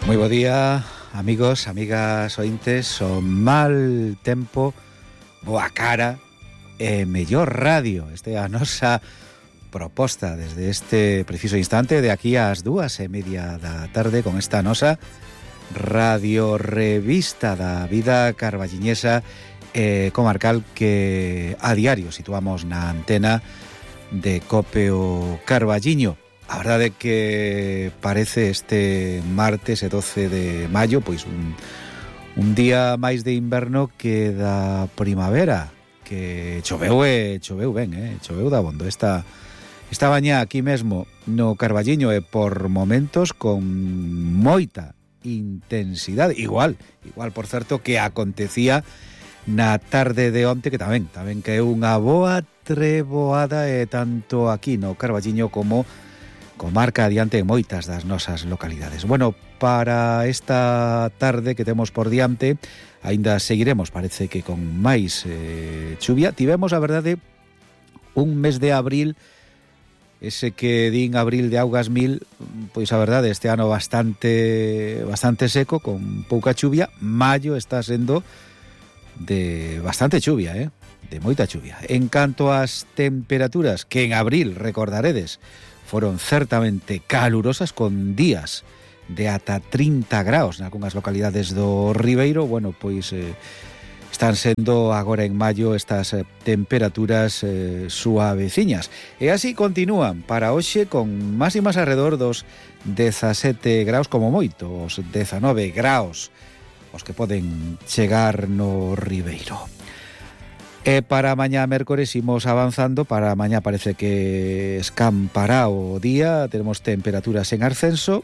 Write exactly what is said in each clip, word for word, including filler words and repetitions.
Moi bo día, amigos, amigas ointes. O mal tempo, boa cara e mellor radio. Esta é a nosa proposta desde este preciso instante, de aquí ás dúas e media da tarde, con esta nosa radio revista da vida carballiñesa e comarcal que a diario situamos na antena de Cope o Carballiño. A verdade é que parece este martes e doce de maio pois un, un día máis de inverno que da primavera, que choveu e choveu ben, eh? choveu da bondo esta, esta baña aquí mesmo no Carballiño, e por momentos con moita intensidade, igual, igual por certo que acontecía na tarde de onte, que tamén, tamén que é unha boa treboada, e tanto aquí no Carballiño como comarca adiante en moitas das nosas localidades. Bueno, para esta tarde que temos por diante, aínda seguiremos, parece que con máis eh, chuvia. Tivemos, a verdade, un mes de abril, ese que din abril de augas mil, pois a verdade, este ano bastante bastante seco, con pouca chuvia. Maio está sendo de bastante chuvia, eh? de moita chuvia. En canto ás temperaturas, que en abril, recordaredes, foron certamente calurosas, con días de ata trinta graus nalgunhas localidades do Ribeiro. Bueno, pois eh, están sendo agora en maio estas eh, temperaturas eh, suaveciñas. E así continúan para hoxe, con máximas alrededor dos dezasete graus como moito, os dezanove graus os que poden chegar no Ribeiro. E para mañá mércores imos avanzando. Para mañá parece que escampará o día. Tenemos temperaturas en ascenso,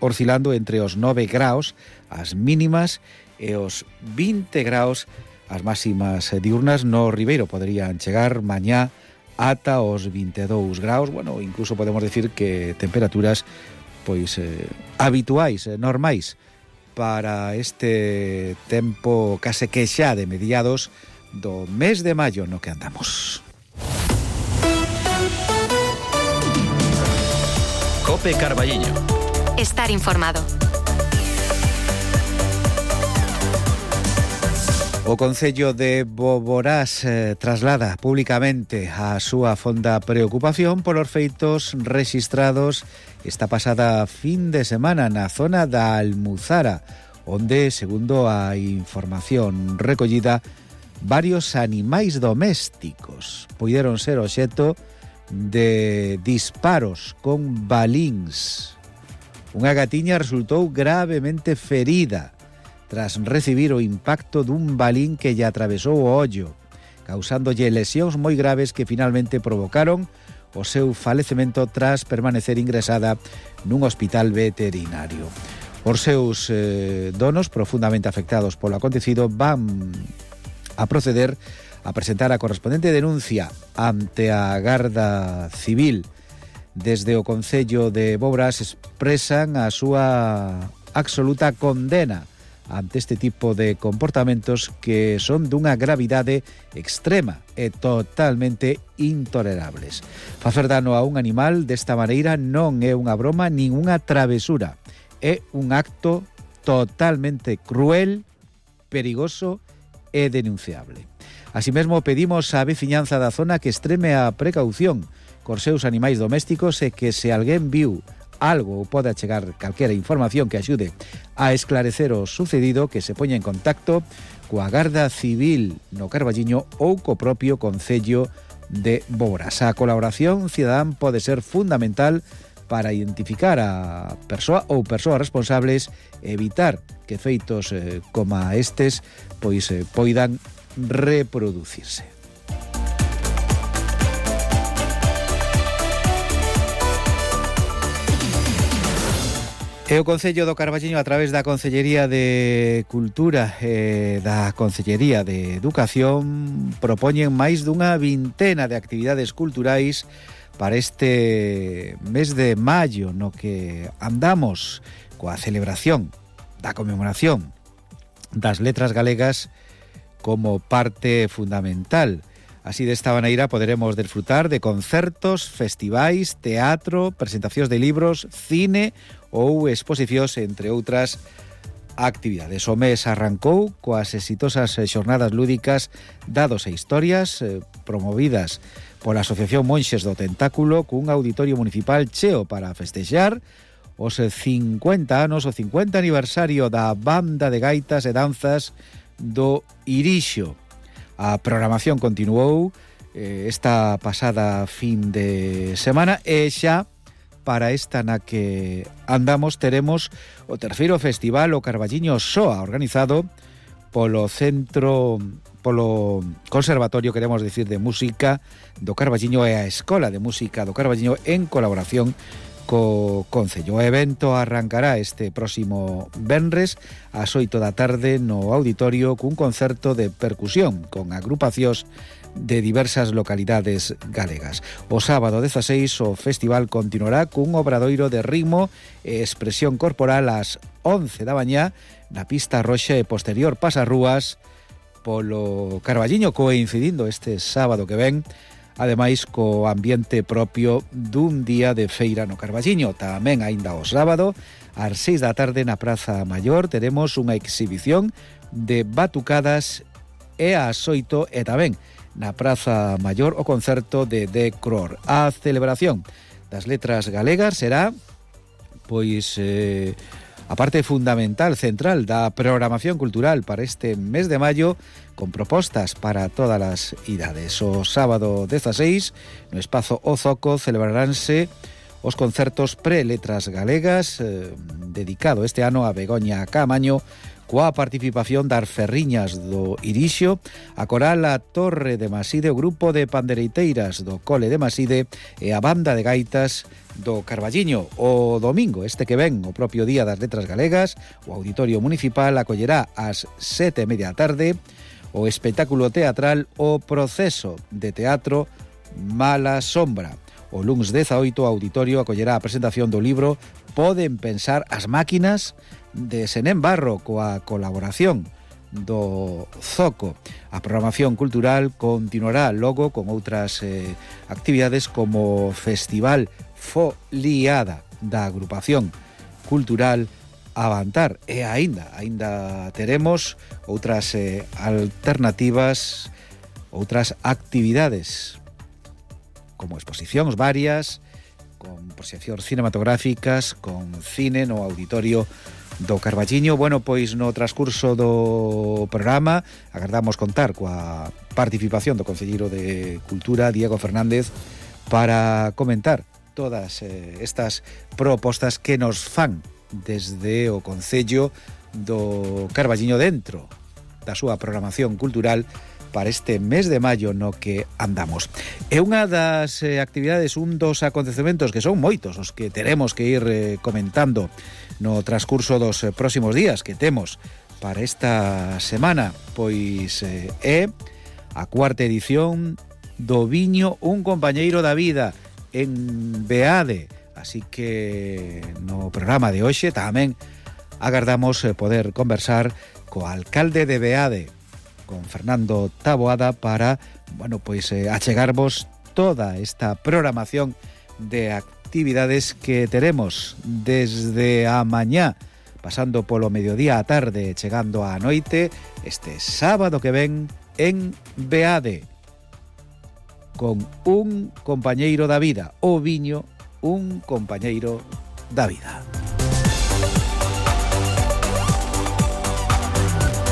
oscilando entre os nove graus as mínimas e os vinte graus as máximas diurnas. No Ribeiro poderían chegar mañá ata os vinte e dous graus. Bueno, incluso podemos decir que temperaturas pois eh, habituais, eh, normais para este tempo case que xa de mediados do mes de maio no que andamos. Cope Carballiño. Estar informado. O Concello de Boborás eh, traslada públicamente a súa fonda preocupación polos feitos rexistrados esta pasada fin de semana na zona da Almuzara, onde, segundo a información recollida, varios animais domésticos puideron ser obxecto de disparos con balíns. Unha gatiña resultou gravemente ferida tras recibir o impacto dun balín que lle atravesou o ollo, causándolle lesións moi graves que finalmente provocaron o seu falecemento tras permanecer ingresada nun hospital veterinario. Os seus eh, donos, profundamente afectados polo acontecido, van a proceder a presentar a correspondente denuncia ante a Garda Civil. Desde o Concello de Boborás expresan a súa absoluta condena ante este tipo de comportamentos que son dunha gravidade extrema e totalmente intolerables. Facer dano a un animal desta maneira non é unha broma nin unha travesura, é un acto totalmente cruel, perigoso e denunciable. Así mesmo pedimos á veciñanza da zona que extreme a precaución cos seus animais domésticos, e que se alguén viu algo ou pode achegar calquera información que axude a esclarecer o sucedido, que se poña en contacto coa Garda Civil no Carballiño ou co propio Concello de Boborás. A colaboración cidadán pode ser fundamental para identificar a persoa ou persoas responsables e evitar que feitos eh, como estes pois eh, poidan reproducirse. E o Concello do Carballiño, a través da Concellería de Cultura e da Concellería de Educación, propoñen máis dunha vintena de actividades culturais para este mes de maio, no que andamos coa celebración da conmemoración das letras galegas como parte fundamental. Así desta maneira poderemos desfrutar de concertos, festivais, teatro, presentacións de libros, cine ou exposicións, entre outras actividades. O mes arrancou coas exitosas xornadas lúdicas Dados e Historias, eh, promovidas pola Asociación Monxes do Tentáculo, cun auditorio municipal cheo para festexar os cincuenta anos, o cincuenta aniversario da banda de gaitas e danzas do Irixo. A programación continuou eh, esta pasada fin de semana e xa para esta na que andamos teremos o terceiro festival o Carballiño Soa, organizado polo Centro, polo Conservatorio, queremos decir, de Música do Carballiño e a Escola de Música do Carballiño en colaboración co Concello. O evento arrancará este próximo venres ás oito da tarde no auditorio cun concerto de percusión con agrupacións de diversas localidades galegas. O sábado dezaseis o festival continuará cun obradoiro de ritmo e expresión corporal ás once da mañá na pista roxa e posterior pasarrúas polo Carballiño, coincidindo este sábado que ven, ademais co ambiente propio dun día de feira no Carballiño. Tamén aínda o sábado ás seis da tarde na Praza Maior teremos unha exhibición de batucadas e ás oito e tamén na Praza Maior o concerto de The Cror. A celebración das letras galegas será pois eh, a parte fundamental, central da programación cultural para este mes de maio, con propostas para todas as idades. O sábado dezaseis, no espazo O Zoco, celebraránse os concertos pre-letras galegas, eh, dedicado este ano a Begoña Caamaño, coa participación das Ferriñas do Irixo, a coral a Torre de Maside, o grupo de pandereiteiras do Cole de Maside e a banda de gaitas do Carballiño. O domingo, este que ven, o propio día das letras galegas, o Auditorio Municipal acollerá ás sete e media da tarde o espectáculo teatral O Proceso de Teatro Mala Sombra. O luns dezaoito, o auditorio acollerá a presentación do libro Poden pensar as máquinas, de Senén Barro, coa colaboración do Zoco. A programación cultural continuará logo con outras eh, actividades como o Festival Foliada da agrupación cultural Avantar, e aínda aínda teremos outras eh, alternativas, outras actividades como exposicións varias, con proxeccións cinematográficas, con cine no auditorio do Carballiño. Bueno, pois no transcurso do programa agardamos contar coa participación do concelleiro de Cultura, Diego Fernández, para comentar todas eh, estas propostas que nos fan desde o Concello do Carballiño dentro da súa programación cultural para este mes de maio no que andamos. É unha das eh, actividades, un dos acontecementos que son moitos os que teremos que ir eh, comentando no transcurso dos eh, próximos días que temos para esta semana, pois eh, é a cuarta edición do Viño Un Compañeiro da Vida en Beade. Así que no programa de hoxe tamén agardamos eh, poder conversar co alcalde de Beade, con Fernando Taboada, para, bueno, pois eh, achegarvos toda esta programación de actividades que teremos desde a mañá, pasando polo mediodía á tarde, chegando á noite, este sábado que ven en Beade, con un compañeiro da vida, o viño Un Compañeiro da Vida.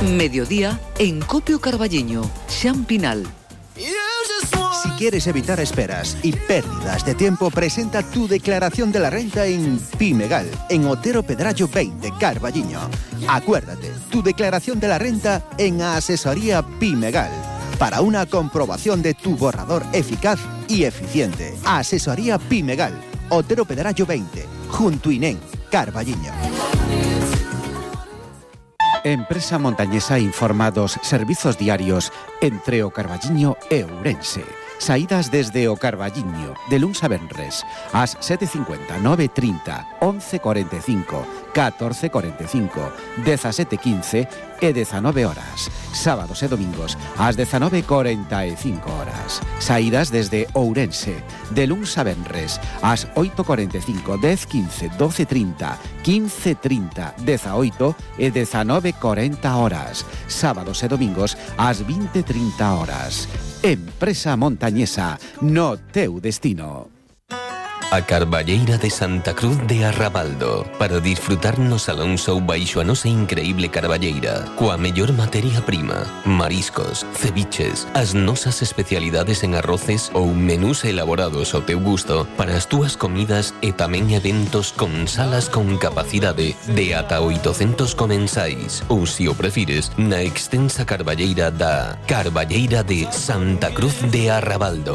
Mediodía en Copio Carballiño, Xan Pinal. Si quieres evitar esperas y pérdidas de tiempo, presenta tu declaración de la renta en Pimegal, en Otero Pedrallo veinte, Carballiño. Acuérdate, tu declaración de la renta en Asesoría Pimegal, para una comprobación de tu borrador eficaz y eficiente. Asesoría Pimegal, Otero Pedrallo veinte, junto Inén, Carballiño. Empresa montañesa informa dos servizos diarios entre o Carballiño e Ourense. Saídas desde o Carballiño, de luns a venres, ás sete e cincuenta, nove e trinta, once e cuarenta e cinco, catorce e cuarenta e cinco, dezasete e quince e dezanove horas. Sábados e domingos, ás dezanove e cuarenta e cinco horas. Saídas desde Ourense, de luns a venres, ás oito e cuarenta e cinco, dez e quince, doce e trinta, quince e trinta, dezaoito e dezanove e cuarenta horas. Sábados e domingos, ás vinte e trinta horas. Empresa Montañesa, no teu destino. A Carballeira de Santa Cruz de Arrabaldo, para disfrutar no Salón Show baixo a nosa increíble carballeira, coa mellor materia prima, mariscos, ceviches, as nosas especialidades en arroces ou menús elaborados ao teu gusto para as túas comidas e tamén eventos con salas con capacidade de ata oitocentos comensais ou, se o prefires, na extensa carballeira da Carballeira de Santa Cruz de Arrabaldo.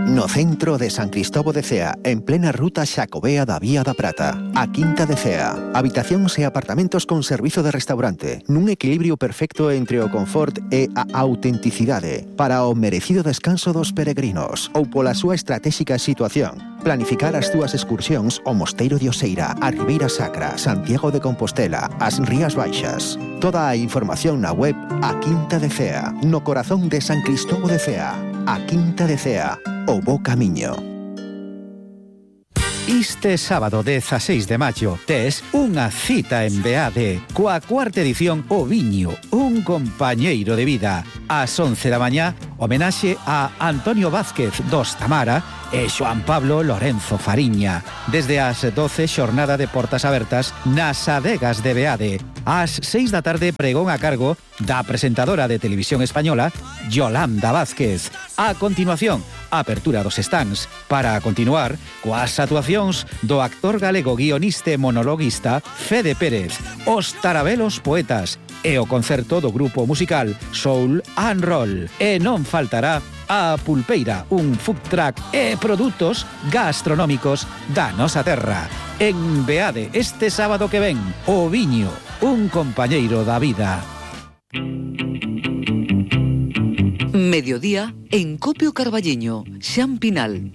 No centro de San Cristóbal de Cea, en plena ruta Xacobea da Vía da Prata, a Quinta de Cea. Habitacións e apartamentos con servizo de restaurante, nun equilibrio perfecto entre o confort e a autenticidade, para o merecido descanso dos peregrinos, ou pola súa estratégica situación. Planificar as túas excursións ao Mosteiro de Oseira, a Ribeira Sacra, Santiago de Compostela, as Rías Baixas. Toda a información na web A Quinta de Cea, no corazón de San Cristóbal de Cea. A Quinta de Cea, o bo camiño. Este sábado dezaseis de maio tes unha cita en Beade coa cuarta edición O Viño, un compañeiro de vida. Ás once da mañá, homenaxe a Antonio Vázquez dos Tamara e Xoan Pablo Lorenzo Fariña. Desde as doce, xornada de portas abertas nas adegas de Beade. Ás seis da tarde, pregón a cargo da presentadora de televisión española Yolanda Vázquez. A continuación, apertura dos stands para continuar coas actuacións do actor galego guionista e monologuista Fede Pérez, os Tarabelos Poetas e o concerto do grupo musical Soul and Roll. E non faltará a Pulpeira, un food truck e produtos gastronómicos da nosa terra. En Beade, este sábado que ven, O Viño, un compañeiro da vida. Mediodía en Copio Carballiño, Xan Pinal.